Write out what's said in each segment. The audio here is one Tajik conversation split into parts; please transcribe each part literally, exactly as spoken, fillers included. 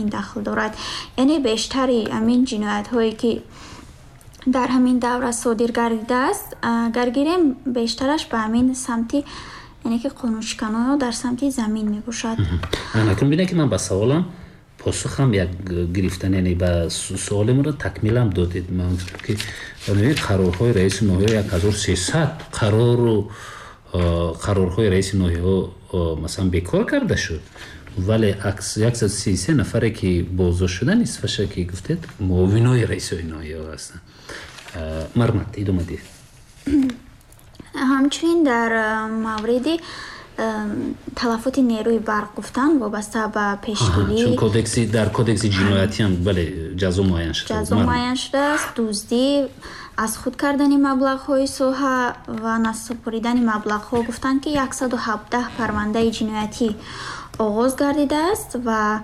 Замин дахл дорад. Яъне бештари ҳамин ҷиноятҳое, ки дар ҳамин давра содир гардидааст, агар гирем, бештараш ба ҳамин самти, яъне ки қонуншиканоно дар самти замин мебошад. Акнун бинед, ки ман ба саволам посухам як гирифтан, яъне ба суолемро такмилам додед. Ман гуфтам, ки қарорҳои раиси ноҳия, як ҳазору сесад қарору қарорҳои раиси ноҳияҳо, масалан, бекор карда шуд, вале яксаду си се нафаре, ки боздошт шуда, нисфаша, ки гуфтед, муовинои раисои ноҳияҳо ҳастанд. Марҳамат, идома диҳед. Ҳамчунин дар мавриди талафоти нерӯи барқ гуфтан, вобаста ба пешгирӣ. Чун кодекси дар кодекси ҷиноятиам, бале, ҷазо муайян шуда. Ҷазо муайян шудааст. Дуздӣ, аз худ кардани маблағҳои соҳа ва насупоридани маблағҳо, гуфтанд, ки яксаду ҳабдаҳ парвандаи ҷиноятӣ оғоз гардидааст. Ва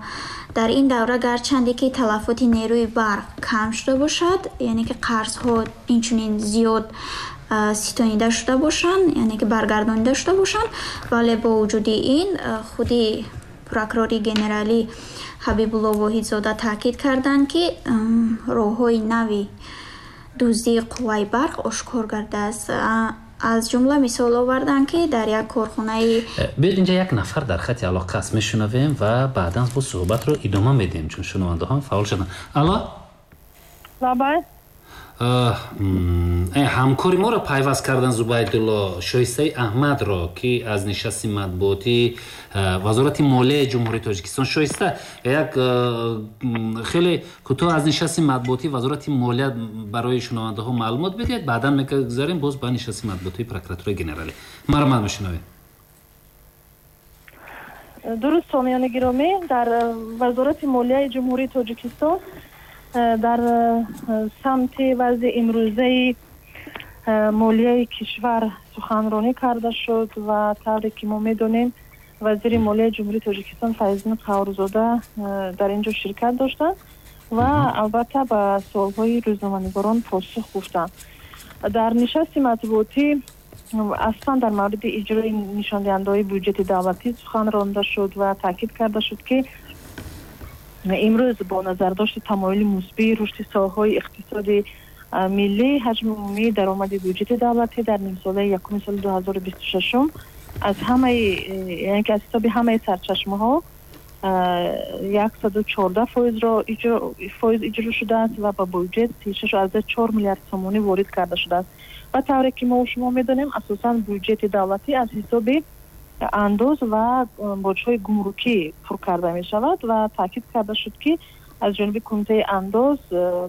дар ин давра, гарчанде ки талафоти нерӯи барқ кам шуда бошад, яъне ки қарзҳо инчунин зиёд ситонида шуда бошанд, яъне ки баргардонида шуда бошанд, вале бо вуҷуди ин худи прокурори генералӣ Ҳабибулло Воҳидзода таъкид карданд, ки роҳҳои нави дуздии қувваи барқ ошкор гардааст. Аз ҷумла мисол оварданд, ки дар як корхонаи Биёед, инҷа як нафар дар хати алоқа аст, мешунавем ва баъдан боз суҳбатро идома медиҳем, чун шунавандаҳо фаъол шуданд. Алло. Лабай. Ҳамкори моро пайваст кардан, Зубайдулло Шоистаи Аҳмадро, ки аз нишасти матбуотии Вазорати молияи Ҷумҳурии Тоҷикистон. Шоиста, як хеле кӯтоҳ аз нишасти матбуотии Вазорати молия барои шунавандаҳо маълумот бидиҳед, баъдан мегузарем боз ба нишасти матбуотии Прокуратураи генералӣ. Марҳамат, мешунавем. Дуруст, сомиёни гиромӣ, дар Вазорати молияи Ҷумҳурии Тоҷикистон дар самти вазъи имрӯзаи молияи кишвар суханронӣ карда шуд. Ва тавре ки мо медонем, вазири молияи Ҷумҳурии Тоҷикистон Файзиддин Қаҳҳорзода дар ин ҷо ширкат доштанд ва албатта ба суолҳои рӯзноманигорон посух гуфтанд. Дар нишасти матбуотӣ аслан дар мавриди иҷрои нишондиҳандаҳои буҷети давлатӣ сухан ронда шуд ва таъкид карда шуд, ки имрӯз бо назардошти тамоюли мусбии рушди соҳаҳои иқтисоди миллӣ, ҳаҷми умумии даромади буҷети давлатӣ дар нимсолаи якуми соли дуҳазору бисту шашум аз ҳамаи, яъне ки аз ҳисоби ҳамаи сарчашмаҳо яксаду чордаҳ фоизро фоиз иҷро шудааст ва ба буҷет сишашу аздаҳ чор миллиард сомонӣ ворид карда шудааст. Ва тавре ки мо шумо медонем, асосан буҷети давлатӣ аз ҳисоби андоз ва боҷҳои гумрукӣ пур карда мешавад. Ва таъкид карда шуд, ки аз ҷониби Кумитаи андоз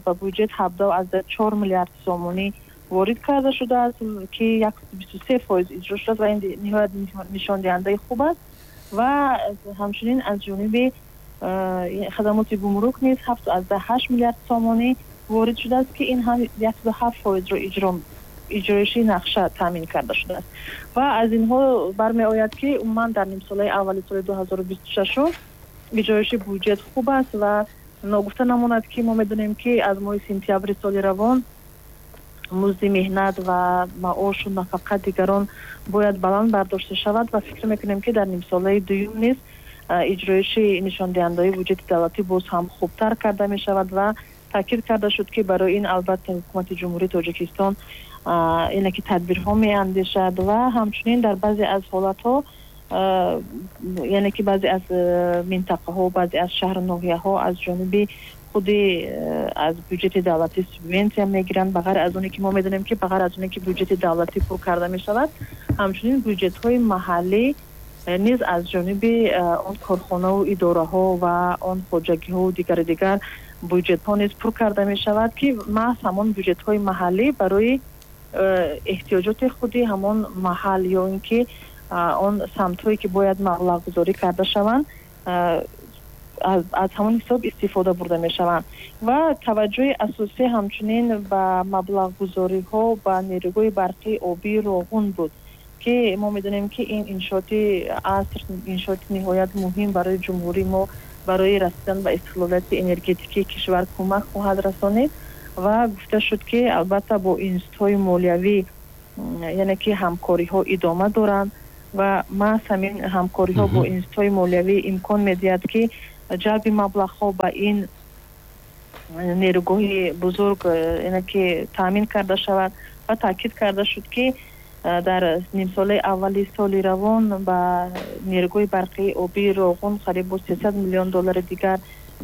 ба буҷет ҳабдаҳ аздаҳ чор миллиард сомонӣ ворид карда шудааст, ки яксаду бисту се фоиз иҷро шудааст ва ин ниҳоят нишондиҳандаи хуб аст. Ва ҳамчунин аз ҷониби хадамоти гумрук низ ҳафту аздаҳ ҳашт миллиард сомонӣ ворид шудааст, ки ин ҳам яксаду ҳафт фоизро иҷро иҷроиши нақша таъмин карда шудааст. Ва аз инҳо бармеояд, ки умуман дар нимсолаи аввали соли дуҳазору бисту шашум иҷроиши буҷет хуб аст. Ва ногуфта намонад, ки мо медонем, ки аз моҳи сентябри соли равон музди меҳнат ва маошу нафақа дигарон бояд баланд бардошта шавад ва фикр мекунем, ки дар нимсолаи дуюм низ иҷроиши нишондиҳандаҳои буҷети давлатӣ боз ҳам хубтар карда мешавад. Ва таъкид карда шуд, ки барои ин албатта Ҳукумати Ҷумҳурии Тоҷикистон ине ки тадбирҳо меандешад. Ва ҳамчунин дар баъзе аз ҳолатҳо, яъне ки баъзе аз минтақаҳо, баъзе аз шаҳру ноҳияҳо аз ҷониби худи аз буҷети давлатӣ субвенсия мегиранд. Ба ғайр аз оне ки мо медонем, ки ба ғайр аз оне ки буҷети давлатӣ пур карда мешавад, ҳамчунин буҷетҳои маҳаллӣ низ аз ҷониби он корхонаву идораҳо ва он хоҷагиҳову дигару дигар буҷетҳо низ пур карда мешавад, ки маҳз ҳамон буҷетҳои маҳаллӣ барои эҳтиёҷоти худи ҳамон маҳал ё ин ки он самтҳое, ки бояд маблағгузорӣ карда шаванд, аз ҳамон ҳисоб истифода бурда мешаванд. Ва таваҷҷӯҳи асосӣ ҳамчунин ба маблағгузориҳо ба нерӯгоҳи барқии обии Роғун буд, ки мо медонем, ки ин иншооти аср, иншооти ниҳоят муҳим барои ҷумҳурии мо, барои расидан ба истиқлолияти энергетикии кишвар кӯмак хоҳад расонид. Ва гуфта шуд, ки албатта бо институтҳои молиявӣ, яъне ки ҳамкориҳо идома доранд ва маҳз ҳамин ҳамкориҳо бо институтҳои молиявӣ имкон медиҳад, ки ҷалби маблағҳо ба ин нерӯгоҳи бузург яъне ки таъмин карда шавад ва таъкид карда шуд, ки дар нимсолаи аввали соли равон ба нерӯгоҳи барқии обии Роғун қариб сесад миллион доллари дигар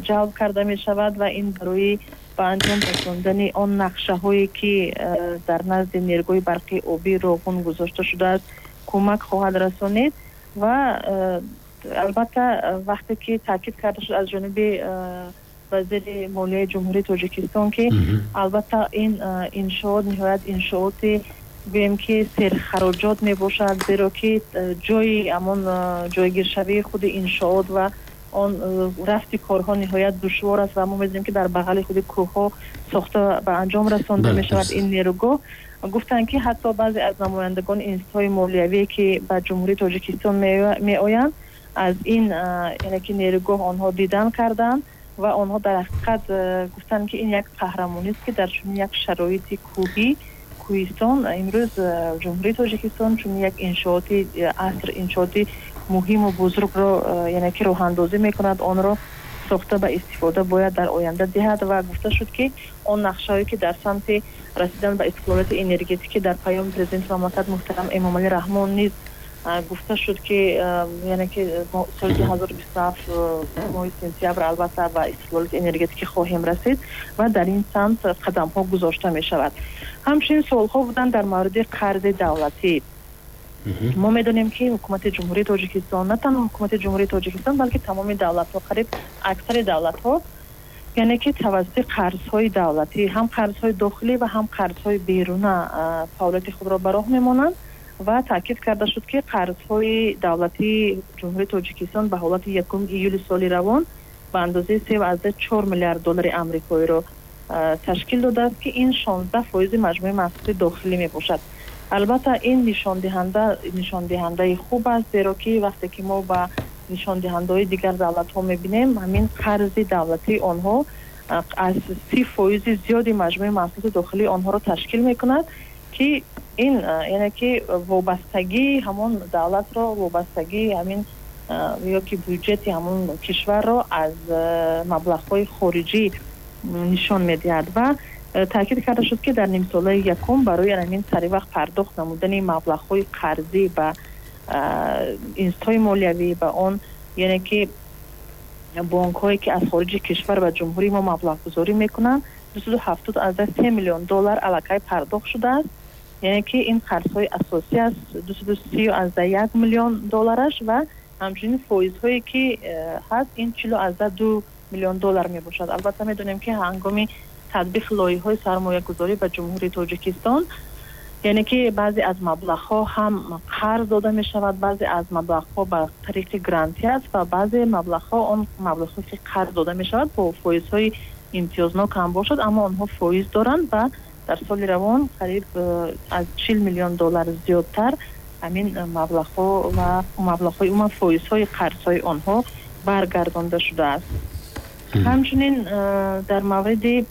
ҷалб карда мешавад ва ин барои ба анҷом расондани он нақшаҳое, ки дар назди нерӯгоҳи барқии обии Роғун гузошта шудааст, кӯмак хоҳад расонид. Ва албатта вақте ки таъкид карда шуд аз ҷониби вазири молияи Ҷумҳурии Тоҷикистон, ки албатта ин иншоот ниҳоят иншооти гӯем ки серхароҷот мебошад, зеро ки ҷои ҳамон ҷойгиршавии худи иншоот ва он рафти корҳо ниҳоят душвор аст ва мо медонем, ки дар бағали худи кӯҳҳо сохта ба анҷом расонда мешавад ин нерӯгоҳ. Гуфтанд, ки ҳатто баъзе аз намояндагони институтҳои молиявие, ки ба Ҷумҳурии Тоҷикистон меоянд, аз ин яъне ки нерӯгоҳ онҳо дидан карданд ва онҳо дар ҳақиқат гуфтанд, ки ин як қаҳрамонист, ки дар чунин як шароити кӯҳӣ, кӯҳистон имрӯз Ҷумҳурии Тоҷикистон чунин як иншооти аср, иншооти муҳиму бузургро яъне ки роҳандозӣ мекунад, онро сохта ба истифода бояд дар оянда диҳад. Ва гуфта шуд, ки он нақшаҳое, ки дар самти расидан ба истиқлолияти энергетикӣ дар паёми президенти мамлакат муҳтарам Эмомалӣ Раҳмон низ гуфта шуд, ки яъне ки соли ду ҳазору бисту ҳафт моҳи сентябр албатта ба истиқлолияти энергетикӣ хоҳем расид ва дар ин самт қадамҳо гузошта мешавад. Ҳамчунин суолҳо буданд дар мавриди қарзи давлатӣ. Мо медонем, ки ҳукумати Ҷумҳурии Тоҷикистон, на танҳо ҳукумати Ҷумҳурии Тоҷикистон, балки тамоми давлатҳо, қариб аксари давлатҳо, яъне ки тавассути қарзҳои давлатӣ, ҳам қарзҳои дохилӣ ва ҳам қарзҳои беруна фаъолияти худро ба роҳ мемонанд. Ва таъкид карда шуд, ки қарзҳои давлатии Ҷумҳурии Тоҷикистон ба ҳолати якуми июли соли равон ба андозаи се аз чор миллиард доллари амрикоиро ташкил додааст, ки ин шонздаҳ фоизи маҷмӯи маҳсулоти дохилӣ мебошад. Албатта ин нишондиҳанда нишондиҳандаи хуб аст, зеро ки вақте ки мо ба нишондиҳандаҳои дигар давлатҳо мебинем, ҳамин қарзи давлатии онҳо аз си фоизи зиёди маҷмӯи маҳсулоти дохилии онҳоро ташкил мекунад, ки ин яъне ки вобастагии ҳамон давлатро, вобастагии ҳамин ё ки бюҷети ҳамон кишварро аз маблағҳои хориҷӣ нишон медиҳад. Ва таъкид карда шуд, ки дар нимсолаи якум барои ҳамин саривақт пардохт намудани маблағҳои қарзӣ ба институтҳои молиявӣ, ба он яъне ки бонкҳое, ки аз хориҷи кишвар ба ҷумҳурии мо маблағгузорӣ мекунанд, дусаду ҳафтод аз се миллион доллар аллакай пардохт шудааст. Яъне ки ин қарзҳои асосӣ аст, дусаду си аз як миллион доллараш ва ҳамчунин фоизҳое, ки ҳаст, ин чилу аз ду миллион доллар мебошад. Албатта медонем, ки ҳангоми татбиқи лоиҳаҳои сармоягузорӣ ба Ҷумҳурии Тоҷикистон, яъне ки баъзе аз маблағҳо ҳам қарз дода мешавад, баъзе аз маблағҳо ба тариқи грантӣ аст ва баъзе маблағҳо он маблағҳое, ки қарз дода мешавад, бо фоизҳои имтиёзнок ҳам бошад, аммо онҳо фоиз доранд ва дар соли равон қариб аз чил миллион доллар зиёдтар ҳамин маблағҳо ва маблағҳои умуман фоизҳои қарзҳои онҳо баргардонда шудааст. Ҳамчунин дар мавриди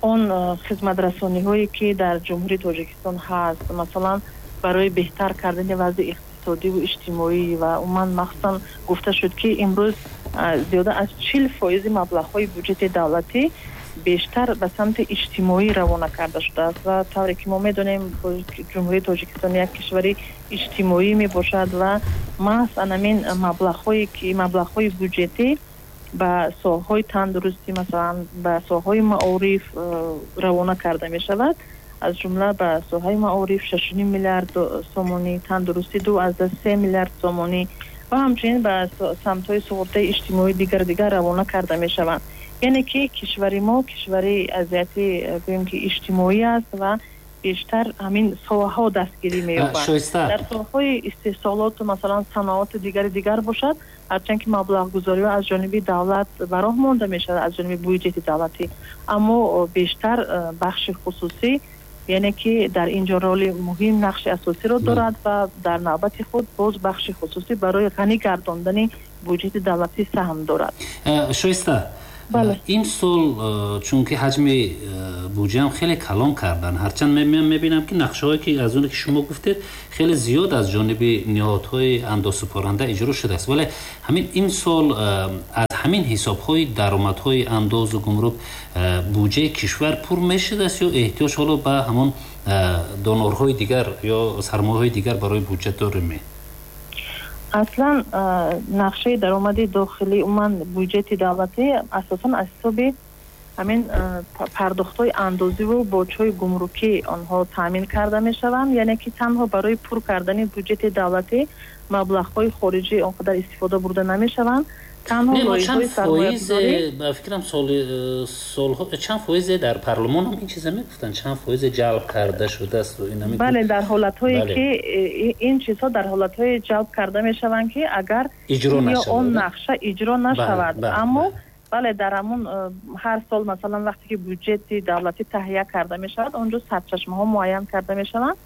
он хизматрасониҳое, ки дар Ҷумҳурии Тоҷикистон ҳаст, масалан барои беҳтар кардани вазъи иқтисодиву иҷтимоӣ ва умуман махсусан гуфта шуд, ки имрӯз зиёда аз чил фоизи маблағҳои бюҷети давлатӣ бештар ба самти иҷтимоӣ равона карда шудааст. Ва тавре ки мо медонем, Ҷумҳурии Тоҷикистон як кишвари иҷтимоӣ мебошад ва маҳз анамин маблағҳое, ки маблағҳои бюҷетӣ ба соҳаҳои тандурустӣ, масалан ба соҳаҳои маориф равона карда мешавад. Аз ҷумла ба соҳаи маориф шашу ним миллиард сомонӣ, тандурустӣ ду аз се миллиард сомонӣ ва ҳамчунин ба самтҳои суғуртаи иҷтимоӣ дигар дигар равона карда мешаванд. Яъне ки кишвари мо кишвари аз ҷиҳати гӯем ки иҷтимоӣ аст ва бештар ҳамин соҳаҳо дастгирӣ меёбанд. Дар соҳаҳои истеҳсолоту масалан саноату дигари дигар бошад, ҳарчанд ки маблағгузориҳо аз ҷониби давлат ба роҳ монда мешавад, аз ҷониби бюҷети давлатӣ, аммо бештар бахши хусусӣ, яъне ки дар ин ҷо роли муҳим, нақши асосиро дорад ва дар навбати худ боз бахши хусусӣ барои ғанӣ гардондани бюҷети давлатӣ саҳм дорад. Шоиста, Ин сол чунки ҳаҷми буҷаам хеле калон карданд, ҳарчанд мебинам ки нақшаҳое ки аз оне ки шумо гуфтед хеле зиёд аз ҷониби ниҳодҳои андозсупоранда иҷро шудааст, вале ҳамин ин сол аз ҳамин ҳисобҳои даромадҳои андозу гумрук буҷаи кишвар пур мешудааст ё эҳтиёҷ ҳоло ба ҳамон донорҳои дигар ё сармояҳои дигар барои буҷа дорем? Аслан нақшаи даромади дохилӣ, умуман буҷети давлатӣ асосан аз ҳисоби ҳамин пардохтҳои андозиву боҷҳои гумрукӣ онҳо таъмин карда мешаванд. Яъне ки танҳо барои пур кардани буҷети давлатӣ маблағҳои хориҷӣ он қадар истифода бурда намешаванд. Танҳо лоиҳаҳои сармоягузорӣ, ба фикрам солҳо чанд фоизе дар парлумон ҳам ин чиза мегуфтанд, чанд фоизе ҷалб карда шудааст. Бале, дар ҳолатҳое ки ин чизҳо дар ҳолатҳое ҷалб карда мешаванд ки агар ё он нақша иҷро нашавад. Аммо бале, дар ҳамон ҳар сол масалан вақте ки буҷети давлатӣ таҳия карда мешавад, онҷо сарчашмаҳо муайян карда мешаванд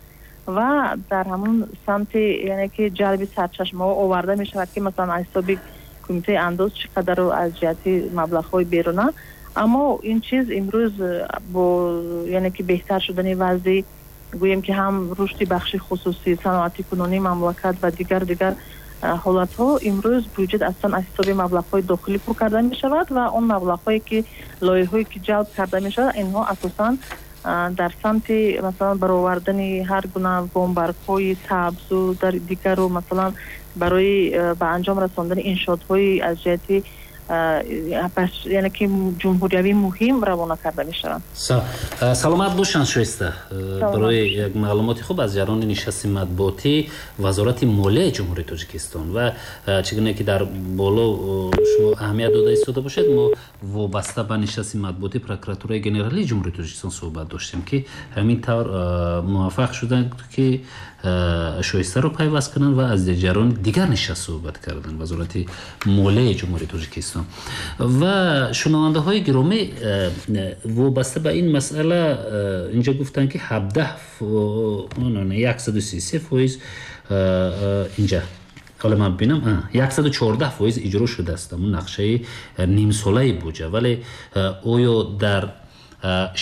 ва дар ҳамон самти яъне ки ҷалби сарчашмаҳо оварда мешавад ки масалан аз ҳисоби кумитаи андоз чӣ қадару аз ҷиҳати маблағҳои беруна. Аммо ин чиз имрӯз бо яъне ки беҳтар шудани вазъи гӯем ки ҳам рушди бахши хусусӣ, саноати кунунии мамлакат ва дигар дигар ҳолатҳо, имрӯз буҷет аслан аз ҳисоби маблағҳои дохилӣ пур карда мешавад ва он маблағҳое ки лоиҳаҳое ки ҷалб карда мешавад, инҳо асосан дар самти масалан баровардани ҳар гуна бомбаргҳои сабзу дар дигару масалан барои ба анҷом расондани иншоотҳои аз ҷиҳати яъне ки ҷумҳуриявӣ муҳим равона карда мешаванд. Саломат бошанд Шоиста, барои як маълумоти хуб аз ҷараёни нишасти матбуотии Вазорати молияи Ҷумҳурии Тоҷикистон ва чӣ гуна ки дар боло шумо аҳамият дода истода бошед, мо вобаста ба нишасти матбуотии прокуратураи генералии Ҷумҳурии Тоҷикистон суҳбат доштем ки ҳамин тавр муваффақ шуданд ки Шоистаро пайваст кунанд ва аз ҷараёни дигар нишаст суҳбат карданд Вазорати молияи Ҷумҳурии Тоҷикистон. Ва шунавандаҳои гиромӣ, вобаста ба ин масъала инҷо гуфтанд ки ҳабдаҳ яксаду сию се фоиз инҷа ҳоло ман бинам яксаду чордаҳ фоиз иҷро шудааст ҳамун нақшаи нимсолаи буҷа, вале оё дар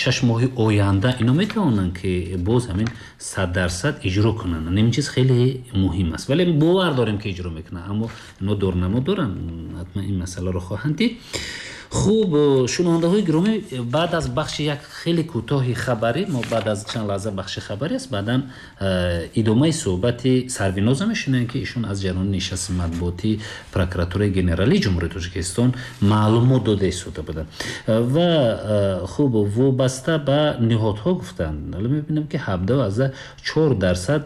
шаш моҳи оянда ино метавонанд ки боз ҳамин сад дарсад иҷро кунанд? Ин чиз хеле муҳим аст, вале бовар дорем ки иҷро мекунанд, аммо ино дурнамо доранд, ҳатман ин масъаларо хоҳанд дид. Хуб, шунавандаҳои гиромӣ, баъд аз бахши як хеле кӯтоҳи хабарӣ, мо баъд аз чанд лаҳза бахши хабарӣ аст, баъдан идомаи суҳбати Сарвиноза мешунавем ки ишон аз ҷараёни нишасти матбуотии прокуратураи генералии Ҷумҳурии Тоҷикистон маълумот дода истода буданд. Ва хуб, вобаста ба ниҳодҳо гуфтанд, ҳоло мебинем ки ҳабдаҳ аз чор дарсад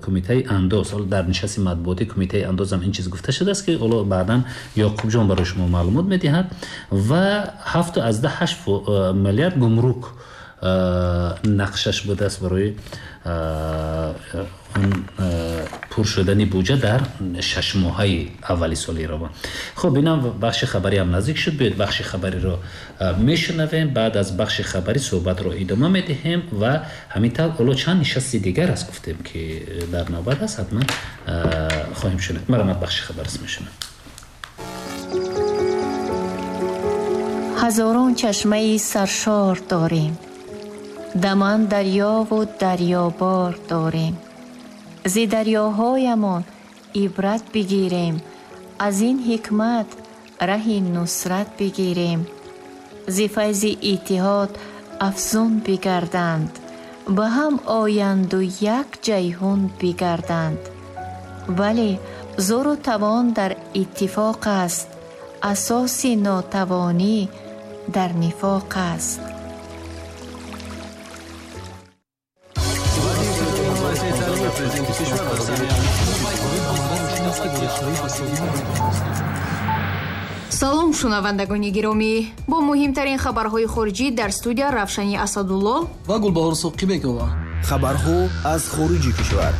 кумитаи андоз, ҳоло дар нишасти матбуотии кумитаи андоз ҳам ин чиз гуфта шудааст ки ҳоло баъдан Ёқубҷон барои шумо маълумот медиҳад, ва ҳафту аз даҳ ҳашт миллиард гумрук нақшаш будааст барои пур шудани буҷа дар шаш моҳаи аввали соли равон. Хуб, инам бахши хабарӣ ҳам наздик шуд. Биёед бахши хабариро мешунавем, баъд аз бахши хабарӣ суҳбатро идома медиҳем ва ҳамин тавр ҳоло чанд нишасти дигар аст гуфтем ки дар навбат аст, ҳатман хоҳем шунид. Марамат бахши хабар аст мешунавем. Ҳазорон чашмаи саршор дорем, даман дарёву дарёбор дорем. Зи дарёҳоямон ибрат бигирем, аз ин ҳикмат раҳи нусрат бигирем. Зи файзи иттиҳод афзун бигарданд, ба ҳам оянду як ҷайҳун бигарданд. Вале зӯру тавон дар иттифоқ аст, асоси нотавонӣ дар нифоқ аст. Салом, шунавандагони гиромӣ. Бо муҳимтарин хабарҳои хориҷӣ дар студия Равшани Асадулло ва Гулбаҳор Соқибекова. Хабарҳо аз хориҷи кишвар.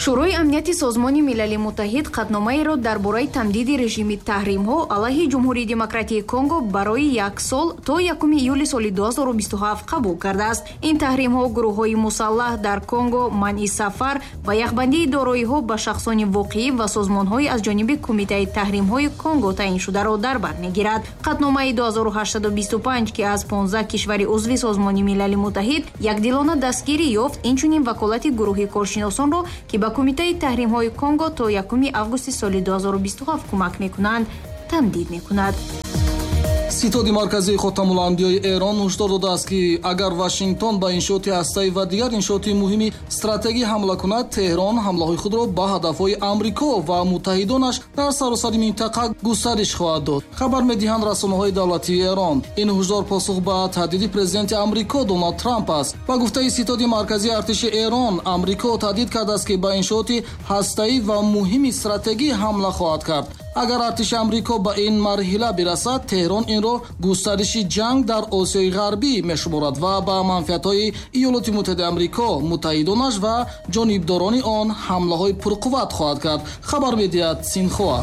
Шӯрои амнияти Созмони Милали Муттаҳид қатъномаеро дар бораи тамдиди режими таҳримҳо алайҳи Ҷумҳурии Демократии Конго барои як сол то якуми июли соли ду ҳазору бисту ҳафт қабул кардааст. Ин таҳримҳо гурӯҳҳои мусаллаҳ дар Конго, манъи сафар ва яхбандии дороиҳо ба шахсони воқеӣ ва созмонҳои аз ҷониби Кумитаи таҳримҳои Конго таъиншударо дар бар мегирад. Қатъномаи ду ҳазору ҳаштсаду бисту панҷ, ки аз понздаҳ кишвари узви Созмони Милали Муттаҳид якдилона дастгирӣ ёфт, инчунин ваколати гурӯҳи коршиносонро, ки ба Кумитаи таҳримҳои Конго то якуми августи соли ду ҳазору бисту ҳафт кӯмак мекунанд, тамдид мекунад. Ситоди марказии Хотамуланбиёи Эрон ҳушдор додааст, ки агар Вашингтон ба иншооти ҳастаӣ ва дигар иншооти муҳими стратегӣ ҳамла кунад, Теҳрон ҳамлаҳои худро ба ҳадафҳои Амрико ва муттаҳидонаш дар саросари минтақа густариш хоҳад дод. Хабар медиҳанд расонаҳои давлатии Эрон. Ин ҳушдор посух ба таҳдиди президенти Амрико Доналд Трамп аст. Ба гуфтаи ситоди марказии артиши Эрон, Амрико таҳдид кардааст, ки ба иншооти ҳастаӣ ва муҳими стратегӣ ҳамла хоҳад кард. Агар артиши Амрико ба ин марҳила бирасад, Теҳрон инро густариши ҷанг дар Осиёи Ғарбӣ мешуморад ва ба манфиатҳои Иёлоти Муттаҳидаи Амрико, муттаҳидонаш ва ҷонибдорони он ҳамлаҳои пурқувват хоҳад кард, хабар медиҳад Синхоа.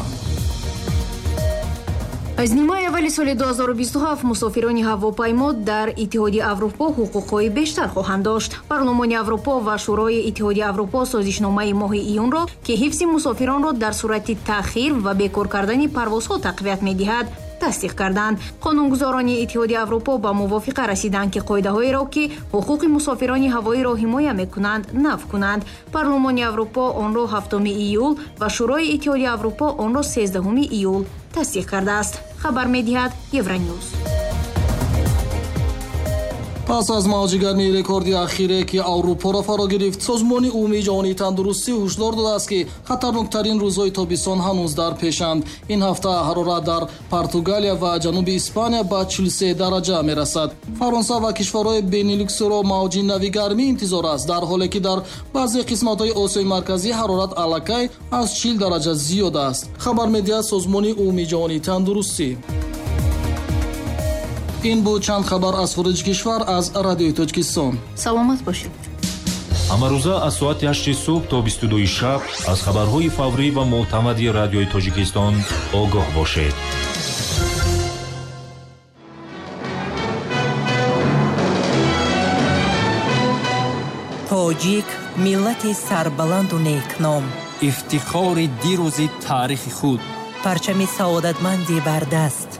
Аз нимаи аввали соли ду ҳазору бисту ҳафт мусофирони ҳавопаймо дар Иттиҳоди Аврупо ҳуқуқҳои бештар хоҳанд дошт. Парлумони Аврупо ва Шӯрои Иттиҳоди Аврупо созишномаи моҳи июнро, ки ҳифзи мусофиронро дар сурати таъхир ва бекор кардани парвозҳо тақвият медиҳад, тасдиқ карданд. Қонунгузорони Иттиҳоди Аврупо ба мувофиқа расиданд, ки қоидаҳоеро, ки ҳуқуқи мусофирони ҳавоиро ҳимоя мекунанд, нав кунанд. Парлумони Аврупо онро ҳафтуми июл ва Шӯрои Иттиҳоди Аврупо онро сездаҳуми июл тасдиқ кардааст. Хабар медиҳад Евроньюз. Пас аз мавҷи гармии рекорди ахире, ки Аврупоро фаро гирифт, Созмони умумии ҷаҳонии тандурустӣ ҳушдор додааст, ки хатарноктарин рӯзҳои тобистон ҳанӯз дар пешанд. Ин ҳафта ҳарорат дар Португалия ва ҷануби Испания ба чилу се дараҷа мерасад. Фаронса ва кишварҳои Бенилюксро мавҷи нави гармӣ интизор аст, дар ҳоле ки дар баъзе қисматҳои Осиёи Марказӣ ҳарорат аллакай аз чил дараҷа зиёд аст, хабар медиҳад Созмони умумии ҷаҳонии тандурустӣ. Ин буд чанд хабар аз хориҷи кишвар аз Радиои Тоҷикистон. Саломат бошед. Ҳамарӯза аз соати ҳашти субҳ то бисту дуи шаб аз хабарҳои фаврӣ ва мӯътамади Радиои Тоҷикистон огоҳ бошед. Тоҷик миллати сарбаланду некном, ифтихори дирӯзи таърихи худ, парчами саодатманди бардаст,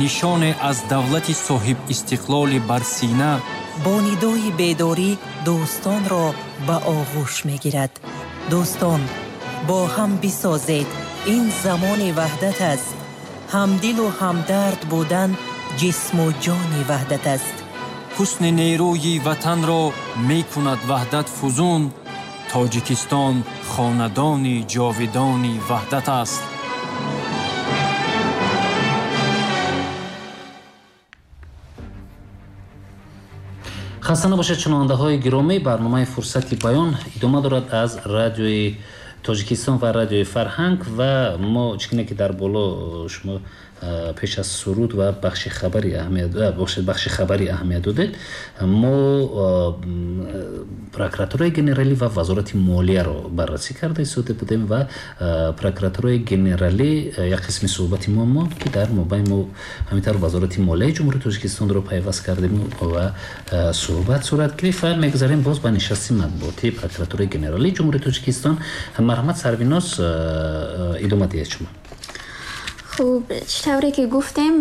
нишоне аз давлати соҳибистиқлоли барсина, бо нидои бедорӣ дӯстонро ба оғӯш мегирад. Дӯстон, бо ҳам бисозед, ин замони ваҳдат аст. Ҳамдилу ҳамдард будан ҷисму ҷони ваҳдат аст. Ҳусни нерӯи ватанро мекунад ваҳдат фузун. Тоҷикистон хонадони ҷовидони ваҳдат аст. Хаста набошед, шунавандаҳои гиромӣ, барномаи Фурсати баён идома дорад аз Радиои Тоҷикистон ва Радиои Фарҳанг ва мо чӣ гуна ки дар боло шумо пеш аз суруд ва бахши хабари аҳамият бахши хабари аҳамият додед, мо прокуратураи генералӣ ва вазорати молияро баррасӣ карда истода будем ва прокуратураи генералӣ як қисми суҳбати мо монд, ки дар мобайн мо ҳамин тавр вазорати молияи Ҷумҳурии Тоҷикистонро пайваст кардем ва суҳбат сурат гирифт ва мегузарем боз ба нишасти матбуотии прокуратураи генералии Ҷумҳурии Тоҷикистон. Марҳамат Сарвиноз, идома диҳед шумо. Хуб, чӣ тавре ки гуфтем,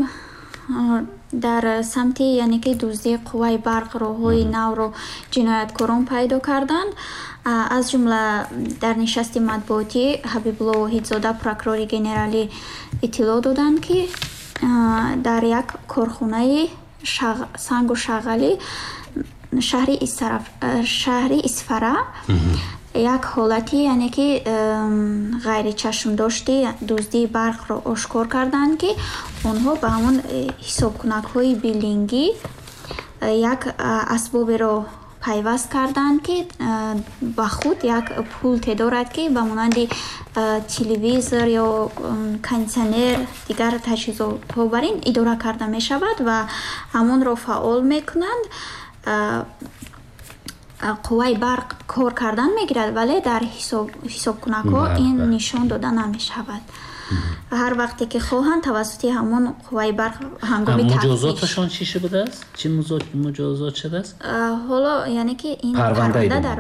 дар самти яъне ки дуздии қувваи барқ роҳҳои навро ҷинояткорон пайдо карданд. Аз ҷумла дар нишасти матбуотӣ Ҳабибулло Воҳидзода, прокурори генералӣ, иттилоъ доданд, ки дар як корхонаи сангу шағалӣ шаҳри Исфара як ҳолати яъне ки ғайричашмдошти дуздии барқро ошкор карданд, ки онҳо ба ҳамон ҳисобкунакҳои биллингӣ як асбоберо пайваст карданд, ки ба худ як пулте дорад, ки ба монанди телевизор ё кондитсионер, дигар таҷҳизотҳо бар ин идора карда мешавад ва ҳамонро фаъол мекунанд. Қувваи барқ кор кардан мегирад, вале дар ҳисобкунакҳо ин нишон дода намешавад. Ҳар вақте ки хоҳанд, тавассути ҳамон қувваи барқ ҳангоми тафтиш. Муҷозоташон чӣ шудааст? Чӣ муҷозот шудааст? Ҳоло яъне ки ин парванда дар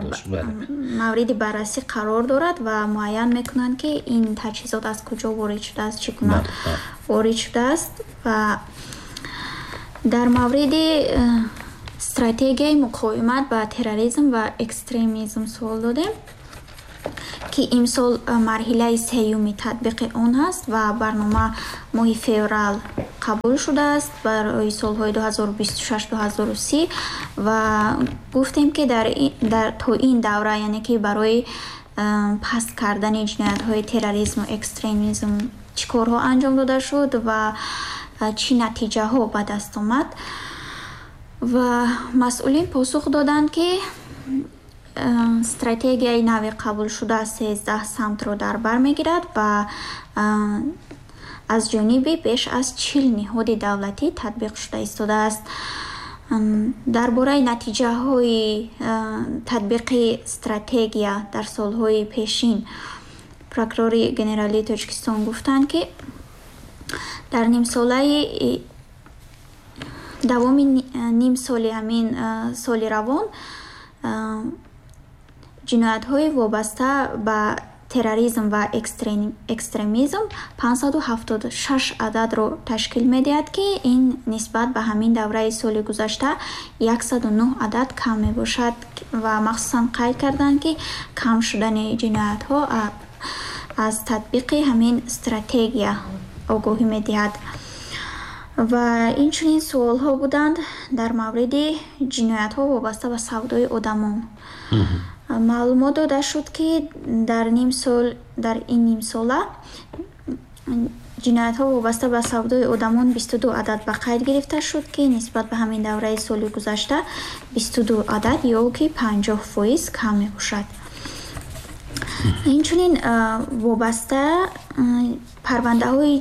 мавриди баррасӣ қарор дорад ва муайян мекунанд, ки ин таҷҳизот аз куҷо ворид шудааст, чӣ гуна ворид шудааст. Ва дар мавриди стратегияи муқовимат ба терроризм ва экстремизм суол додем, ки имсол марҳилаи сеюми татбиқи он ҳаст ва барнома моҳи феврал қабул шудааст барои солҳои ду ҳазору бисту шаш ду ҳазору си. Ва гуфтем, ки дар то ин давра, яъне ки барои паст кардани ҷиноятҳои терроризму экстремизм чӣ корҳо анҷом дода шуд ва чӣ натиҷаҳо ба даст омад. Ва масъулин посух доданд, ки стратегияи нави қабулшуда сездаҳ самтро дар бар мегирад ва аз ҷониби беш аз чил ниҳоди давлатӣ татбиқ шуда истодааст. Дар бораи натиҷаҳои татбиқи стратегия дар солҳои пешин прокурори генералии Тоҷикистон гуфтанд, ки дар нимсолаи давоми нимсоли ҳамин соли равон ҷиноятҳои вобаста ба терроризм ва экстремизм панҷсаду ҳафтоду шаш ададро ташкил медиҳад, ки ин нисбат ба ҳамин давраи соли гузашта яксаду нӯҳ адад кам мебошад. Ва махсусан қайд карданд, ки кам шудани ҷиноятҳо аз татбиқи ҳамин стратегия огоҳӣ медиҳад. Ва инчунин суолҳо буданд дар мавриди ҷиноятҳо вобаста ба савдои одамон. Маълумот дода шуд, ки дар нимсол, дар ин нимсола ҷиноятҳо вобаста ба савдои одамон бисту ду адад ба қайд гирифта шуд, ки нисбат ба ҳамин давраи соли гузашта бисту ду адад ё ки панҷоҳ фоиз кам мебошад. Инчунин вобаста парвандаҳои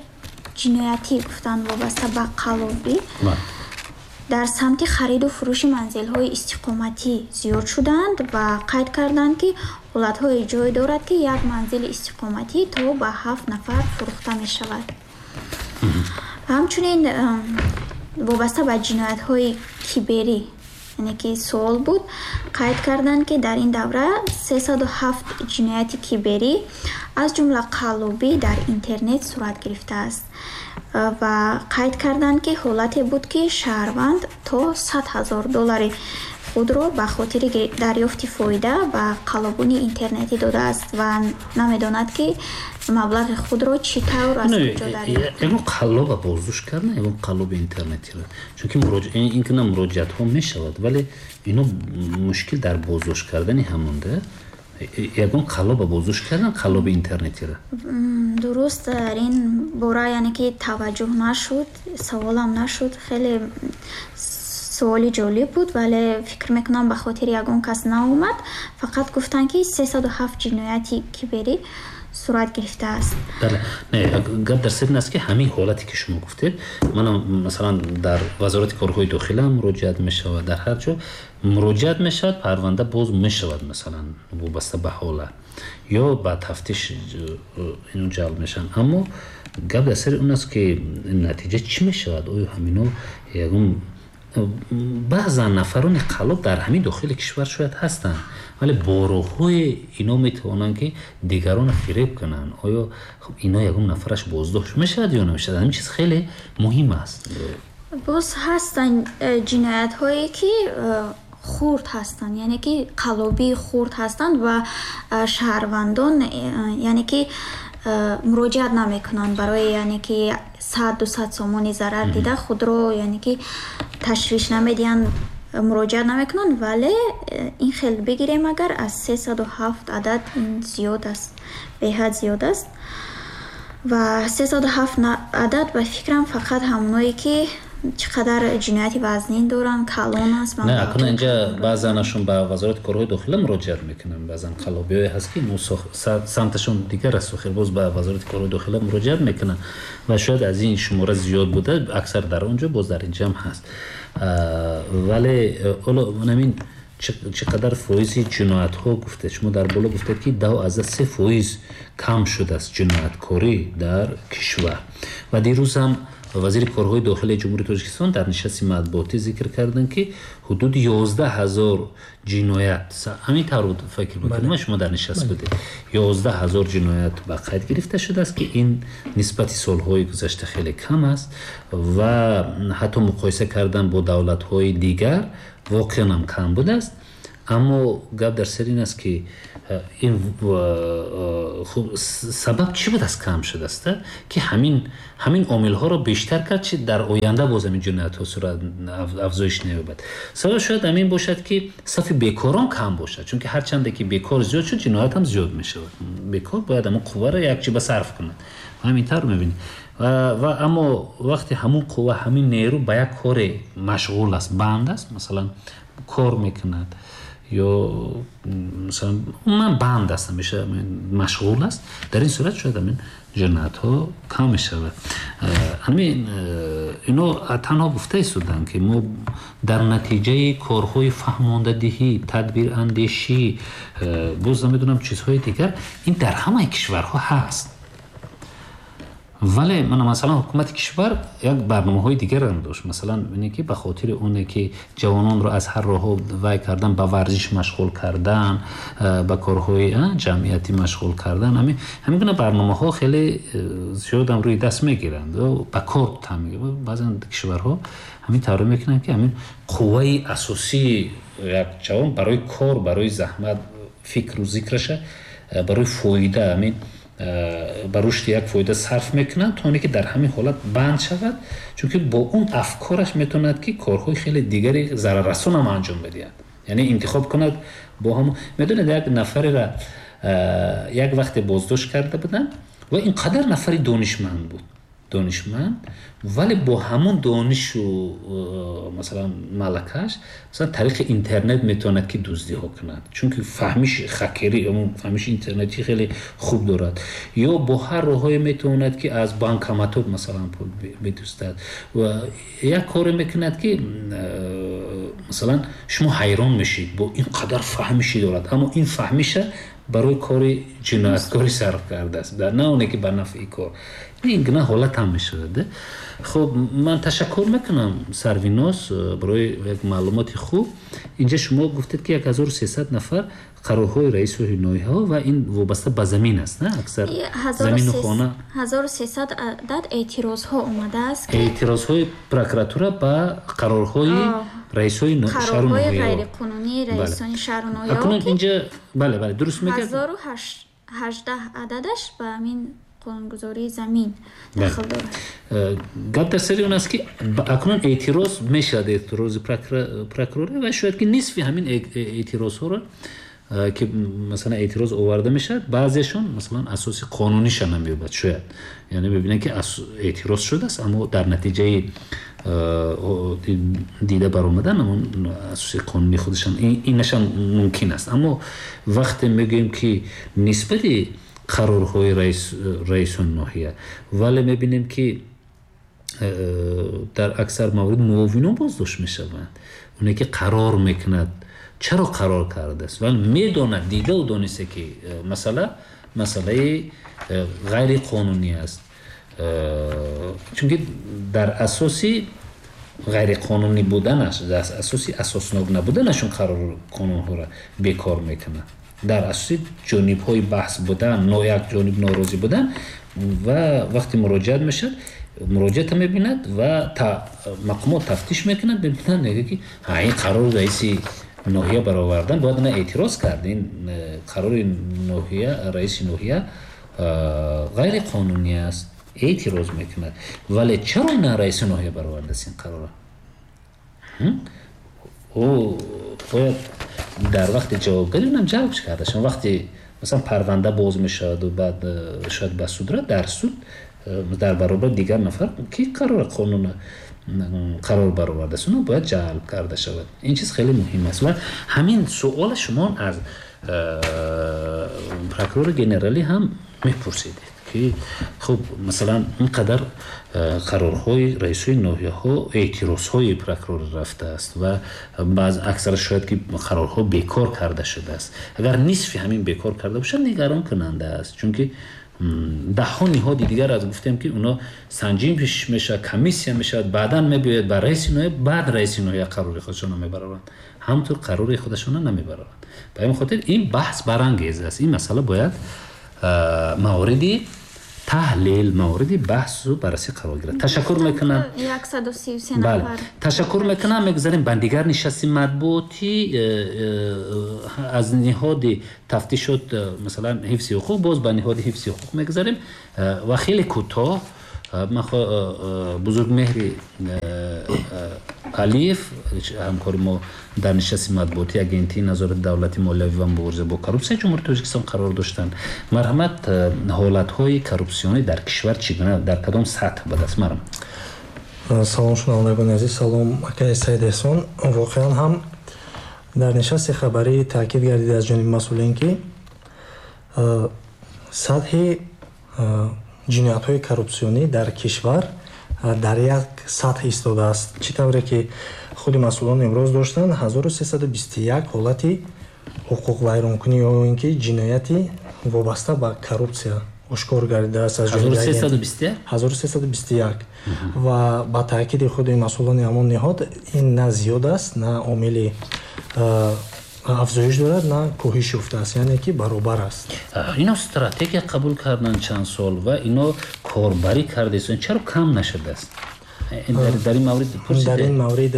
ҷиноятӣ гуфтанд вобаста ба қаллобӣ дар самти хариду фурӯши манзилҳои истиқоматӣ зиёд шуданд ва қайд карданд, ки ҳолатҳое ҷой дорад, ки як манзили истиқоматӣ то ба ҳафт нафар фурӯхта мешавад. Ҳамчунин вобаста ба ҷиноятҳои киберӣ, яъне ки суол буд, қайд карданд, ки дар ин давра сесаду ҳафт ҷинояти киберӣ аз ҷумла қаллобӣ дар интернет сурат гирифтааст. Ва қайд карданд, ки ҳолате буд, ки шаҳрванд то сад ҳазор доллари худро ба хотири дарёфти фоида ба қаллобони интернетӣ додааст ва намедонад, ки маблағи худро чӣ тавр аз куҷо дарёфт. Ягон қаллоба боздошт кардан, ягон қаллоби интернетиро, чунки ин гуна муроҷиатҳо мешавад, вале ино мушкил дар боздошт кардани ҳамонда. Ягон қаллоба боздошт кардан, қаллоби интернетиро? Дуруст, дар ин бора яъне ки таваҷҷӯҳ нашуд, саволам нашуд. Хеле суоли ҷолиб буд, вале фикр мекунам ба хотири ягон кас наомад. Фақат гуфтанд, ки сесаду ҳафт ҷинояти киберӣ сурат гирифтааст. Бале, не, гап дар сер ин аст, ки ҳамин ҳолате ки шумо гуфтед, манам масалан дар вазорати корҳои дохила муроҷиат мешавад, дар ҳар ҷо муроҷиат мешавад, парванда боз мешавад, масалан вобаста ба ҳолат ё ба тафтиш ино ҷалб мешаванд. Аммо гап дар сари он аст, ки натиҷа чӣ мешавад? Оё ҳамино ягон баъзан нафарони қаллоб дар ҳамин дохили кишвар шояд ҳастанд, вале бо роҳҳои ино метавонанд, ки дигаронро фиреб кунанд. Оё ино ягон нафараш боздошт мешавад ё намешавад? Ҳамин чиз хеле муҳим аст. Боз ҳастанд ҷиноятҳое, ки хурд ҳастанд, яъне ки қаллобии хурд ҳастанд ва шаҳрвандон яъне ки муроҷиат намекунанд барои яъне ки сад дусад сомони зарар дида худро яъне ки ташвиш намедиҳанд, муроҷиат намекунанд. Вале ин хел бигирем, агар аз сесаду ҳафт адад ин зиёд аст, беҳад зиёд аст. Ва сесаду ҳафт адад ба фикрам фақат ҳамоное, ки чӣ қадар ҷинояти вазнин доранд, калон аст. Не, акнун инҷа баъзанашон ба вазорати корҳои дохила муроҷиат мекунанд, баъзан қаллобиҳое ҳаст, ки самташон дигар аст, охир боз ба вазорати корҳои дохила муроҷиат мекунанд ва шояд аз ин шумора зиёд буда, аксар дар он ҷо, боз дар инҷа ҳам ҳаст. Вале ҳоло ҳамин Чӣ қадар фоизи ҷиноятҳо гуфтед? Шумо дар боло гуфтед, ки даҳ аз се фоиз кам шудааст ҷинояткорӣ дар кишвар. Ва дирӯз ҳам вазири корҳои дохилии Ҷумҳурии Тоҷикистон дар нишасти матбуотӣ зикр карданд, ки ҳудуди ёздаҳ ҳазор ҷиноят, ҳамин тавр буд фикр мекунам, шумо дар нишаст будед, ёздаҳ ҳазор ҷиноят ба қайд гирифта шудааст, ки ин нисбати солҳои гузашта хеле кам аст ва ҳатто муқоиса кардан бо давлатҳои дигар воқеан ҳам кам будааст. Аммо гап дар сари ин аст, ки ин сабаб чӣ будааст кам шудааст, ки ҳамин ҳамин омилҳоро бештар кард, чи дар оянда боз ҳамин ҷиноятҳо сурат афзоиш наёбад. Сабаб шояд ҳамин бошад, ки сафи бекорон кам бошад, чунки ҳарчанде ки бекор зиёд шуд, ҷиноят ҳам зиёд мешавад. Бекор бояд ҳамон қувваро якчи ба сарф кунад. Ҳамин тавр мебинед. Ва аммо вақте ҳамон қувва, ҳамин нерӯ ба як коре машғул аст, банд аст, масалан кор мекунад ё масалан умуман банд аст, ҳамеша машғул аст, дар ин сурат шояд ҳамин ҷиноятҳо кам мешавад. Ҳамин ино танҳо гуфта истоданд, ки мо дар натиҷаи корҳои фаҳмондадиҳӣ, тадбирандешӣ, боз намедонам чизҳои дигар, ин дар ҳамаи кишварҳо ҳаст. Вале мана масалан ҳукумати кишвар як барномаҳои дигарам дошт. Масалан ине ки ба хотири оне ки ҷавононро аз ҳар роҳҳо вай кардан, ба варзиш машғул кардан, ба корҳои ҷамъиятӣ машғул кардан, ҳамин ҳамин гуна барномаҳо хеле зиёдам рӯи даст мегиранд, ба кор там. Баъзан кишварҳо ҳамин тавр мекунанд, ки ҳамин қувваи асосии як ҷавон барои кор, барои заҳмат, фикру зикраша, барои фоида, ҳамин ба рушди як фоида сарф мекунанд, то оне ки дар ҳамин ҳолат банд шавад, чунки бо он афкораш метавонад, ки корҳои хеле дигари зараррасон ҳам анҷом медиҳад. Яъне интихоб кунад бо ҳам. Медонед, як нафареро як вақте боздошт карда буданд ва ин қадар нафари донишманд буд, донишманд, вале бо ҳамон донишу масалан малакаш масалан тариқи интернет метавонад, ки дуздиҳо кунад, чунки фаҳмиши хакерӣ, фаҳмиши интернетӣ хеле хуб дорад, ё бо ҳар роҳҳое метавонад, ки аз банкоматот масалан пул бидуздад ва як коре мекунад, ки масалан шумо ҳайрон мешед, бо ин қадар фаҳмиши дорад, аммо ин фаҳмиша барои кори ҷинояткорӣ сарф кардааст, на оне ки ба нафъи кор. Ин гуна ҳолат ҳам мешавад. Хуб, ман ташаккур мекунам Сарвиноз барои як маълумоти хуб. Инҷа шумо гуфтед, ки як ҳазору сесад нафар қарорҳои раису ноҳияҳо ва ин вобаста ба замин аст, на? Аксар замину хона. Ҳазору сесад адад эътирозҳо омадааст. Эътирозҳои прокуратура ба қарорҳои раисҳои шаҳру ноҳияҳо, ғайриқонунии раисони шаҳру ноҳияҳо. Акнун инҷа бале, бале, дуруст мегӯяд. Ҳазору ҳаждаҳ ададаш ба ҳамин қонунгузории замин дахл дорад. Гап дар сари он аст, ки акнун эътироз мешавад, эътирози прокурорӣ, ва шояд ки нисфи ҳамин эътирозҳоро, ки масалан эътироз оварда мешавад, баъзешон масалан асоси қонуниша намеёбад шояд. Яъне мебинанд, ки эътироз шудааст, аммо дар натиҷаи дида баромадан ҳамон асоси қонунии худашон инашам мумкин аст. Аммо вақте мегӯем, ки нисбати қарорҳои раисон ноҳия, вале мебинем, ки дар аксар маврид муовинон боздошт мешаванд, оне ки қарор мекунад, чаро қарор кардааст, вале медонад, дидаву дониста, ки масъала масъалаи ғайриқонунӣ аст, чунки дар асоси ғайриқонунӣ буданаш, дар асоси асоснок набуданашон қарор қонунҳоро бекор мекунад, дар асоси ҷонибҳои баҳс будан, як ҷониб норозӣ будан. Ва вақте муроҷиат мешавад, муроҷиата мебинад ва мақомот тафтиш мекунад, мебинад, мегӯяд, ки ин қарори раиси ноҳия баровардан бояд на эътироз кард, ин қарори ноҳия, раиси ноҳия ғайриқонунӣ аст, эътироз мекунад. Вале чаро на раиси ноҳия баровардааст ин қарорро? Ӯ бояд дар вақти ҷавобгарӣ унам ҷалб карда шавад. Вақте масалан парванда боз мешаваду баъд шояд ба суд равад, дар суд дар баробари дигар нафар, ки қарори қонун қарор баровардааст, уна бояд ҷалб карда шавад. Ин чиз хеле муҳим аст. Ва ҳамин суола шумо аз прокурори генералӣ ҳам мепурсидед, Ки хуб, масалан, ин қадар қарорҳои раисои ноҳияҳо эътирозҳои прокурор рафтааст ва баъз аксар шояд ки қарорҳо бекор карда шудааст. Агар нисфи ҳамин бекор карда бошад, нигарон кунанда аст, чунки даҳҳо ниҳоди дигар аз гуфтем ки оно санҷим мешавад, комиссия мешавад, баъдан мебиёяд ба раиси ноҳия, баъд раиси ноҳия қарори худашонро мебароранд, ҳамтур қарори худашонро намебароранд. Ба ин хотир ин баҳс барангез аст. Ин масъала бояд мавриди таҳлил, мавриди баҳсу баррасӣ қарор гирад. Ташаккур мекунам. яксаду сию се нафар. Ташаккур мекунам. Мегузарем ба дигар нишасти матбуотӣ аз ниҳоди тафтишот, масалан ҳифзи ҳуқуқ, боз ба ниҳоди ҳифзи ҳуқуқ мегузарем ва хеле кӯтоҳ Бузургмеҳри Алиев, ҳамкори мо дар нишасти матбуотии Агентии назорати давлати молиявӣ ва мубориза бо коррупсияи Ҷумҳурии Тоҷикистон қарор доштанд. Марҳамат, ҳолатҳои коррупсионӣ дар кишвар чӣ гуна, дар кадом сатҳ ба даст? Марҳамат. Салом шунавандагони азиз, салом акаи Саид Эҳсон. Воқеан ҳам дар нишасти хабарӣ таъкид гардид аз ҷониби масъулин, ки сатҳи ҷиноятҳои коррупсионӣ дар кишвар дар як сатҳ истодааст. Чӣ тавре ки худи масъулон имрӯз доштанд, ҳазору сесаду бисту як ҳолати ҳуқуқвайронкунӣ ё ин ки ҷинояти вобаста ба коррупсия ошкор гардидааст аз ҷониби ҳазору сесаду бисту як ва ба таъкиди худи масъулони ҳамон ниҳод ин на зиёд аст, на омили афзоиш дорад, на коҳиш ёфтааст, яъне ки баробар аст. Ино стратегия қабул кардан чанд сол ва ино корбарӣ кардаистанд, чаро кам нашудааст? Дар ин маврид пурсида? Дар ин маврид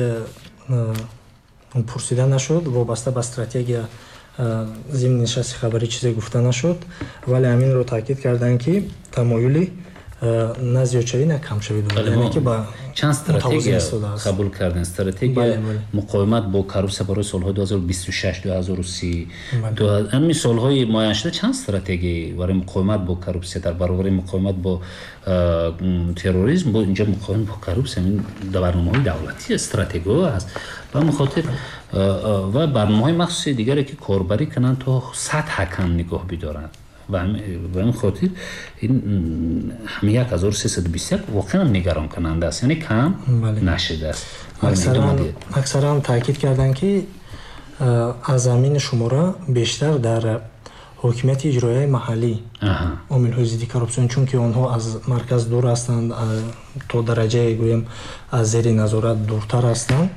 пурсида нашуд, вобаста ба стратегия зимни нишасти хабарӣ чизе гуфта нашуд, вале ҳаминро таъкид карданд, ки тамоюли на зиёдшавӣ, на камшавӣ дорад, яъне ки ба чанд стратегия қабул карданд. Стратегия муқовимат бо коррупсия барои солҳои ду ҳазору бисту шаш, ду ҳазору си, ҳамин солҳои муайяншуда чанд стратегия барои муқовимат бо коррупсия дар баробари муқовимат бо терроризм, бо инҷо муқовимат бо коррупсия ҳамин барномаҳои давлатӣ стратегияҳо аст. Ба ҳамин хотир ва барномаҳои махсуси дигаре ки корбарӣ кунанд то сатҳа кам нигоҳ бидоранд. Ба ҳамин хотир ин ҳамин як ҳазору сесаду бисту як воқеан нигаронкунанда аст, яъне кам нашудааст. Аксаран таъкид карданд, ки аз ҳамин шумора бештар дар ҳокимияти иҷроияи маҳаллӣ омилҳои зидди коррупсион, чунки онҳо аз марказ дур ҳастанд, то дараҷае гӯем аз зери назорат дуртар ҳастанд.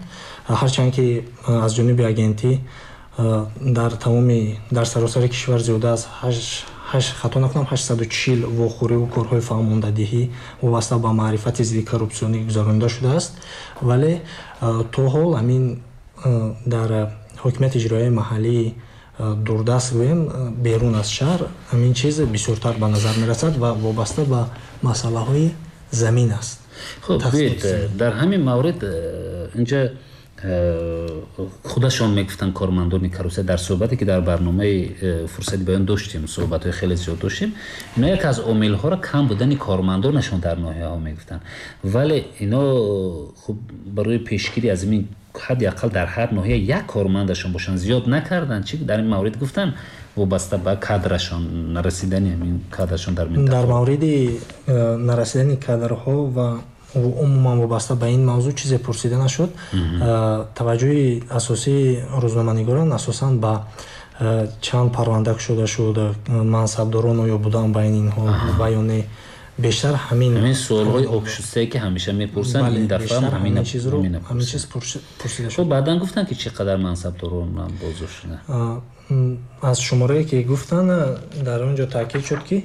Ҳарчанд ки аз ҷониби агентӣ дар тамоми дар саросари кишвар зиёда аз ҳашт, хато накунам, ҳаштсаду чил вохӯриву корҳои фаҳмондадиҳӣ вобаста ба маърифати зидди коррупсионӣ гузаронида шудааст, вале то ҳол ҳамин дар ҳокимияти иҷроияи маҳаллии дурдаст гӯем, берун аз шаҳр ҳамин чиз бисёртар ба назар мерасад ва вобаста ба масъалаҳои замин аст. Хуб, дар ҳамин маврид инҷа худашон мегуфтанд кормандони коррупсия дар суҳбате ки дар барномаи фурсати баён доштем, суҳбатҳои хеле зиёд доштем, ино як аз омилҳоро кам будани кормандонашон дар ноҳияҳо мегуфтанд, вале ино хуб барои пешгирӣ аз ин ҳадди ақал дар ҳар ноҳия як кормандашон бошанд зиёд накарданд. Чӣ дар ин маврид гуфтанд вобаста ба кадрашон, нарасидани ҳамин кадрашон дар минтақа? Дар мавриди нарасидани кадрҳо ва умуман вобаста ба ин мавзӯъ чизе пурсида нашуд. Таваҷҷӯҳи асосии рӯзноманигорон асосан ба чанд парванда кушода шуд, мансабдорон оё буданд байни инҳо ва ё не, бештар ҳамин ҳамин суолҳои обшустае ки ҳамеша мепурсанд, ин дафъа ҳам ҳамин чизро ҳамин чиз пурсида шуд. Хуб, баъдан гуфтанд ки чӣ қадар мансабдорон боздошт шуданд? Аз шуморае ки гуфтанд, дар он ҷо таъкид шуд, ки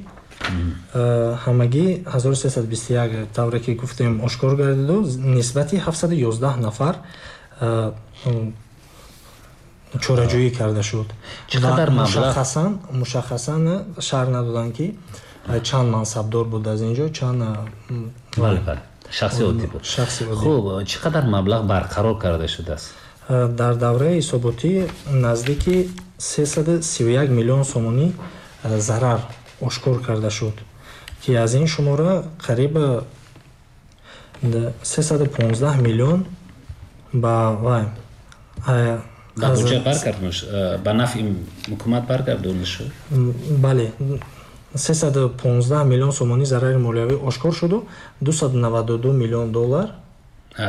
ҳамагӣ ҳазору сесаду бисту як тавре ки гуфтем ошкор гардиду нисбати ҳафтсаду ёздаҳ нафар чораҷӯӣ карда шуд. Чӣ қадар маблағ? Мушаххасан мушаххасан шарҳ надоданд, ки чанд мансабдор буд аз ин ҷо, чанд бале, бале, шахси оддӣ буд. Шахси оддӣ. Хуб, чӣ қадар маблағ барқарор карда шудааст? Дар давраи ҳисоботӣ наздики сесаду сию як миллион сомонӣ зарар ошкор карда шуд, ки аз ин шумора қариб сесаду понздаҳ миллион ба вай ба буҷа баргардонда, ба нафъи ҳукумат баргардонда шуд? Бале, сесаду понздаҳ миллион сомонӣ зарари молиявӣ ошкор шуду дусаду наваду ду миллион доллар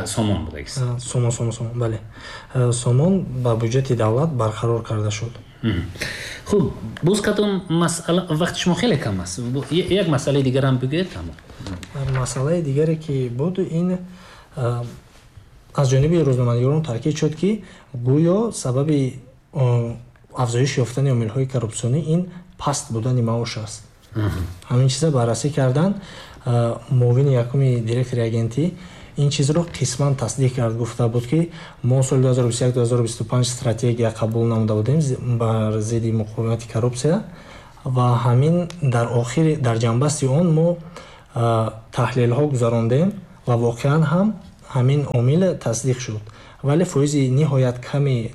сомон будагист. Сомон, сомон, сомон, бале. Сомон ба буҷети давлат барқарор карда шуд. Хуб, боз кадом масъала, вақти шумо хеле кам аст, як масъалаи дигар ҳам бигӯед тамом. Масъалаи дигаре ки буд, ин аз ҷониби рӯзноманигорон таъкид шуд, ки гӯё сабаби афзоиш ёфтани омилҳои коррупсионӣ ин паст будани маош аст. Ҳамин чиза баррасӣ карданд. Муовини якуми директори агентӣ ин чизро қисман тасдиқ кард, гуфта буд, ки мо соли ду ҳазору бисту як ду ҳазору бисту панҷ стратегия қабул намуда будем бар зидди муқовимати коррупсия ва ҳамин дар охири дар ҷанбасти он мо таҳлилҳо гузарондем ва воқеан ҳам ҳамин омил тасдиқ шуд. Вале фоизи ниҳоят ками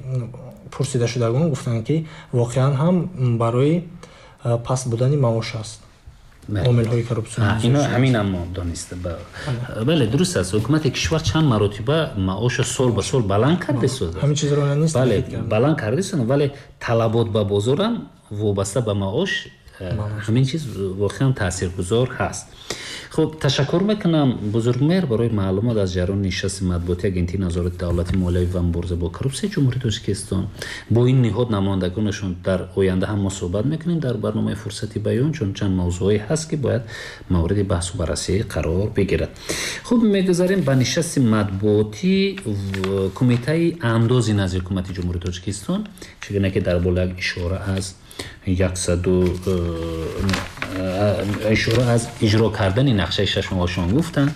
пурсидашудагон гуфтанд, ки воқеан ҳам барои паст будани маош аст омилҳои коррупсионӣ. Ино ҳамин ҳам мо дониста. Бале, дуруст аст. Ҳукумати кишвар чанд маротиба маошро сол ба сол баланд кардааст. Ҳамин чизро нест. Бале, баланд кардааст, вале талабот ба бозорам вобаста ба маош ҳамин чиз воқеан таъсиргузор ҳаст. Хуб, ташаккур мекунам бузургмеҳр барои маълумот аз ҷараёни нишасти матбуоти агентии назорати давлати молиявӣ ва мубориза бо коррупсияи Ҷумҳурии Тоҷикистон. Бо ин ниҳод намояндагонашон дар оянда ҳам мо суҳбат мекунем дар барномаи фурсати баён, чун чанд мавзӯъҳое ҳаст, ки бояд мавриди баҳсу баррасӣ қарор бигирад. Хуб, мегузарем ба нишасти матбуотӣ кумитаи андози назди ҳукумати Ҷумҳурии Тоҷикистон, чигуна ки дар боло як ишора аз яксаду ишора аз иҷро кардани нақшаи шашмоҳашон гуфтанд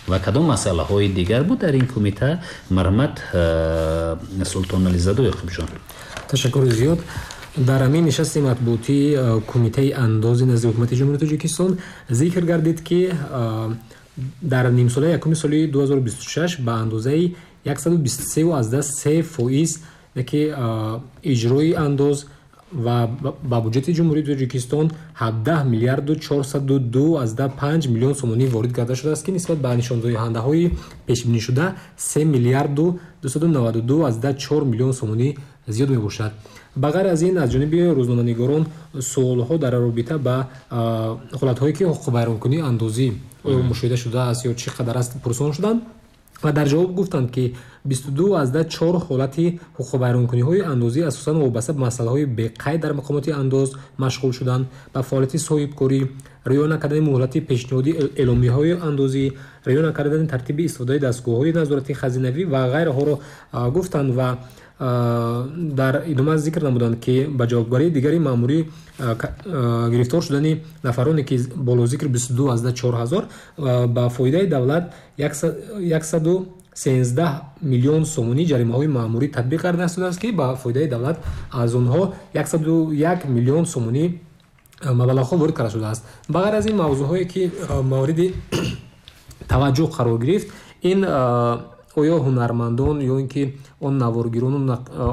ва кадом масъалаҳои дигар буд дар ин кумита. Марҳамат Султонализаду Ёқубҷон. Ташаккури зиёд. Дар ҳамин нишасти матбуотии кумитаи андози назди ҳукумати Ҷумҳурии Тоҷикистон зикр гардид, ки дар нимсолаи якуми соли ду ҳазору бисту шаш ба андозаи яксаду бисту се аз даҳ се фоиз ки иҷрои андоз ва ба буҷети Ҷумҳурии Тоҷикистон ҳабдаҳ миллиарду чорсаду ду аз даҳ панҷ миллион сомонӣ ворид карда шудааст, ки нисбат ба нишондиҳандаҳои пешбинишуда се миллиарду дусаду наваду ду аз даҳ чор миллион сомонӣ зиёд мебошад. Ба ғайр аз ин, аз ҷониби рӯзноманигорон суолҳо дар робита ба ҳолатҳое ки ҳуқуқвайронкунии андозӣ оё мушоҳида шудааст ё чӣ қадар аст пурсон шуданд ва дар ҷавоб гуфтанд, ки бисту ду аз даҳ чор ҳолати ҳуқуқвайронкуниҳои андозӣ асосан вобаста ба масъалаҳои беқайд дар мақомоти андоз машғул шуданд, ба фаъолияти соҳибкорӣ, риоя накардани муҳлати пешниҳоди эъломияҳои андозӣ, риоя накардани тартиби истифодаи дастгоҳҳои назорати хазинавӣ ва ғайраҳоро гуфтанд ва дар идома зикр намуданд, ки ба ҷавобгарии дигари маъмурӣ гирифтор шудани нафароне, ки болозикр бисту ду аз даҳ чор ҳазор ба фоидаи давлат яксаду сенздаҳ миллион сомонӣ ҷаримаҳои маъмурӣ татбиқ карда шудааст, ки ба фоидаи давлат аз онҳо яксаду як миллион сомонӣ маблағҳо ворид карда шудааст. Ба ғайр аз ин, мавзӯъҳое ки мавриди таваҷҷӯҳ қарор гирифт, ин оё ҳунармандон ё ин ки он наворгирону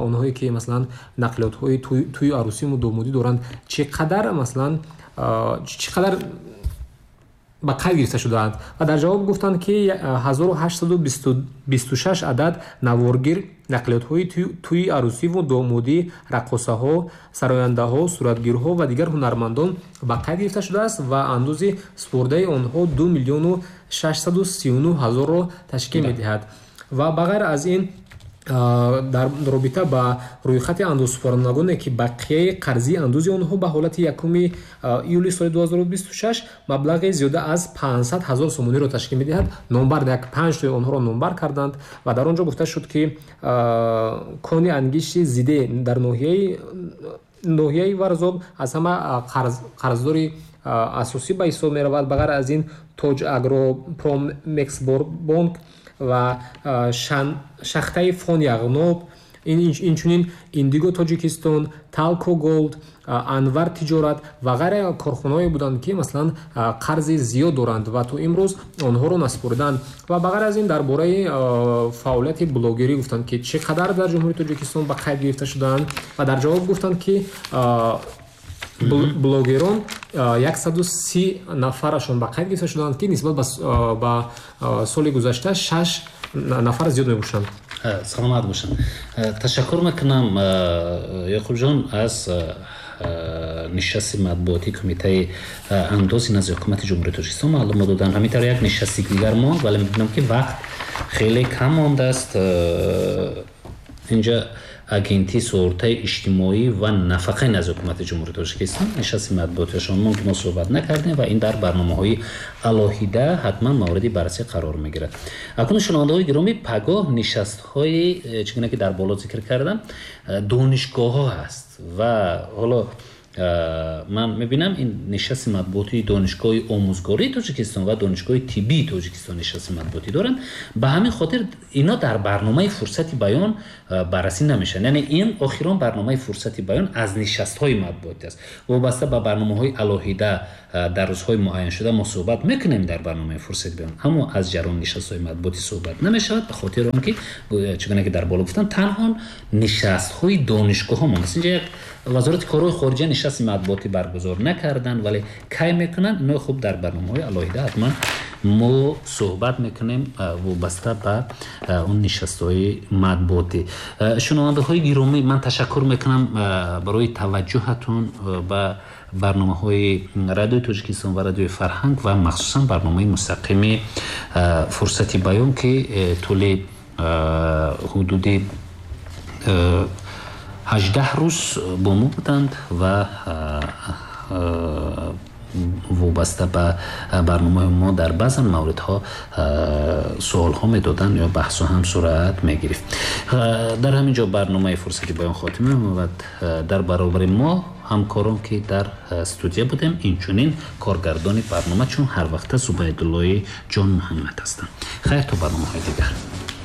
онҳое ки масалан нақлиётҳои тӯи арӯсиму домодӣ доранд, чӣ қадар масалан чӣ қадар ба қайд гирифта шудаанд ва дар ҷавоб гуфтанд, ки ҳазору ҳаштсаду бисту шаш адад наворгир нақлиётҳои тӯи арӯсиву домодӣ, раққосаҳо, сарояндаҳо, суратгирҳо ва дигар ҳунармандон ба қайд гирифта шудааст ва андози супордаи онҳо ду миллиону шашсаду сию нӯҳ ҳазорро ташкил медиҳад. Ва ба ғайр аз ин, дар робита ба рӯйхати андозсупорандагоне, ки бақияи қарзии андози онҳо ба ҳолати якуми июли соли ду ҳазору бисту шаш маблағи зиёда аз панҷсад ҳазор сомониро ташкил медиҳад, номбар як панҷтои онҳоро номбар карданд ва дар он ҷо гуфта шуд, ки кони ангишти зиде дар ноҳияи ноҳияи Варзоб аз ҳама қарздори асосӣ ба ҳисоб меравад. Ба ғайр аз ин, Тоҷ Агропромэксбонк ва шахтаи Фон Яғноб, инчунин Индиго Тоҷикистон, Талко Голд, Анвар Тиҷорат ва ғайра корхонаҳое буданд, ки масалан қарзи зиёд доранд ва то имрӯз онҳоро насупориданд. Ва ба ғайр аз ин, дар бораи фаъолияти блогерӣ гуфтанд, ки чӣ қадар дар Ҷумҳурии Тоҷикистон ба қайд гирифта шудаанд ва дар ҷавоб гуфтанд, ки блогерон яксаду си нафарашон ба қайд гирифта шуданд, ки нисбат ба соли гузашта шаш нафар зиёд мебошанд. Саломат бошанд. Ташаккур мекунам Ёқубҷон аз нишасти матбуотии Кумитаи андози назди Ҳукумати Ҷумҳурии Тоҷикистон маълумот доданд. Ҳамин тавр як нишасти дигар монд, вале мебинам, ки вақт хеле кам мондааст. Инҷа Агентии суғуртаи иҷтимоӣ ва нафақаи назди Ҳукумати Ҷумҳурии Тоҷикистон нишасти матбуотиашон монд, ки мо суҳбат накардем ва ин дар барномаҳои алоҳида ҳатман мавриди баррасӣ қарор мегирад. Акнун, шунавандаҳои гиромӣ, пагоҳ нишастҳои, чӣ гуна ки дар боло зикр кардам, донишгоҳҳо ҳаст ва ҳоло ман мебинам, ин нишасти матбуотии Донишгоҳи омӯзгории Тоҷикистон ва Донишгоҳи тиббии Тоҷикистон нишасти матбуотӣ доранд. Ба ҳамин хотир ино дар барномаи Фурсати баён баррасӣ намешаванд. Яъне ин охирон барномаи Фурсати баён аз нишастҳои матбуотӣ аст. Вобаста ба барномаҳои алоҳида дар рӯзҳои муайяншуда мо суҳбат мекунем дар барномаи Фурсати баён, аммо аз ҷараёни нишастҳои матбуотӣ суҳбат намешавад, ба хотири он ки, чӣ гуна ки дар боло гуфтам, танҳо нишастҳои донишгоҳҳо мондааст. Инҷа як Вазорати корҳои хориҷа нишасти матбуотӣ баргузор накарданд, вале кай мекунанд, ино хуб дар барномаҳои алоҳида ҳатман мо суҳбат мекунем вобаста ба он нишастҳои матбуотӣ. Шунавандаҳои гиромӣ, ман ташаккур мекунам барои таваҷҷӯҳатон ба барномаҳои Радиои Тоҷикистон ва Радиои Фарҳанг ва махсусан барномаи мустақими Фурсати баён, ки тӯли ҳудуди ҳаждаҳ рӯз бо мо буданд ва вобаста ба барномаи мо дар баъзан мавридҳо суолҳо медоданд ё баҳсу ҳам сурат мегирифт. Дар ҳамин ҷо барномаи Фурсати баён хотима меёбад. Дар баробари мо ҳамкорон, ки дар студия будем, инчунин коргардони барнома, чун ҳар вақта, Зубайдуллои Ҷон Муҳаммад ҳастанд. Хайр, то барномаҳои дигар.